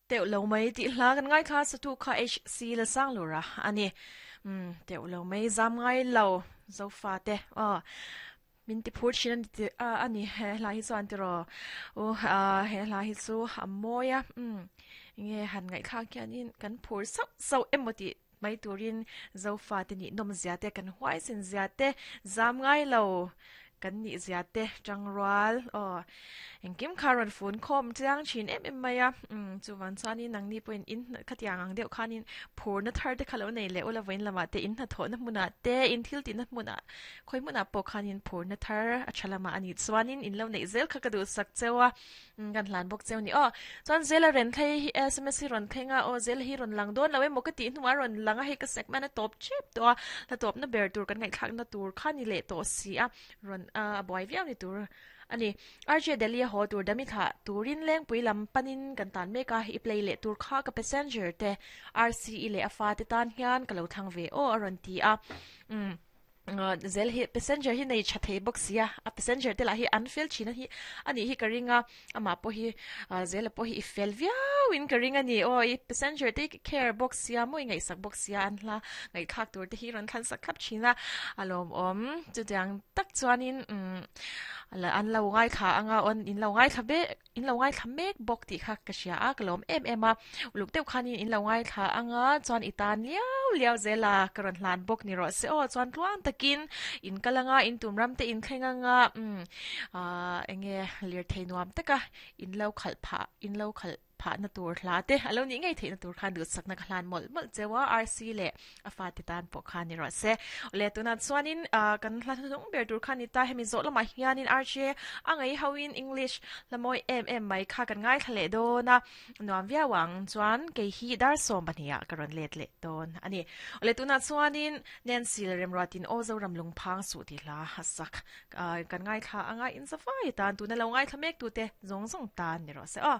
Teuh lo mai tih hla kan ngaithla satu kha HC Lasanglura a ni. Umm teuh lo mai zam ngai lo Zofa te aw min ti phur thin a ni ti a ni he hla hi chuan tiraw u he hla hi chu a mawi a umm enge han ngaihthlak hianin kan phur sauh sauh emaw tih mai turin Zofa te nih nawm zia te kan huaisin zia te zam ngai lo Kan nih zia te tangrual aw engkim kha rawn fun khawm chiang thin em em mai a umm chuvang chuanin nangni pawhin in khatiang ang deuh khanin phurna thar te kha lo nei leh ula vawiin lamah te in hnathawhna hmunah te in thil tihna hmunah khawi hmunah pawh khanin phurna thar a tha lamah a nih chuanin in lo neih zel kha ka duhsak cheu a. Kan hlan bawk cheu ni aw. Chuan Zela ren thlei hi sms hi rawn thleng a, aw Zela hi rawn lang dawn lo emaw ka tih hnuah a rawn lang a, hei ka segment a tawp tep tawh a, hla tawpna ber tur kan ngaihthlakna tur kha ni leh tawh si a, rawn a buai viau ni tur a ni. RJ Delhi a haw tur dami thlah turin Lengpui lam panin kan tan mek a, i play leh tur kha ka passenger te RCE leh a fate tan hian ka lo thlang ve aw a rawn ti a. Umm. Zel hi passenger hi nei tha thei bawk sia a passenger te lah hi an fel thin a hi a nih hi ka ring a amah pawh hi zela pawh hi i fel viau in ka ring a ni aw i passenger te hi care bawk sia maw i ngaihsak bawk sia an hla ngaihthlak tur te hi rawn thlan sak thlap thin a a lawmawm chutiang tak chuanin umm an lo ngaithla anga awn in lo ngaithla vek In lo ngaithla mek bawk tih kha ka hria a, ka lawm em em a. Uluk deuh khanin in lo ngaithla anga chuan i tan liau liau zel a, ka rawn hlan bawk ni rawh se aw. Chuan tluang takin in kal anga, in tum ram te in thleng anga, umm aah enge lirthei nuam taka in lo khalh phah, in lo khalh phahna tur hla te a lo nih ngei theihna tur khan duhsakna ka hlan mawlh mawlh cheu a, RC leh A fate tan pawh kha ni rawh se. Awle tunah chuanin kan hla hnuhnung ber tur kha ni ta. Hemi zawh lamah hianin RJ a ngaih hoin English hla mawi em em mai kha kan ngaithla leh dawn a, nuam viau ang. Chuan kei hi dar 12 ah ka rawn let leh dawn a ni. Awle tunah chuanin Nancy Lalremruatin Aw Zoram Lungphang Suh tih hla a sak kan ngaithla anga inzavai tan tuna lo ngaithla mek tute zawng zawng tan ni rawh se aw.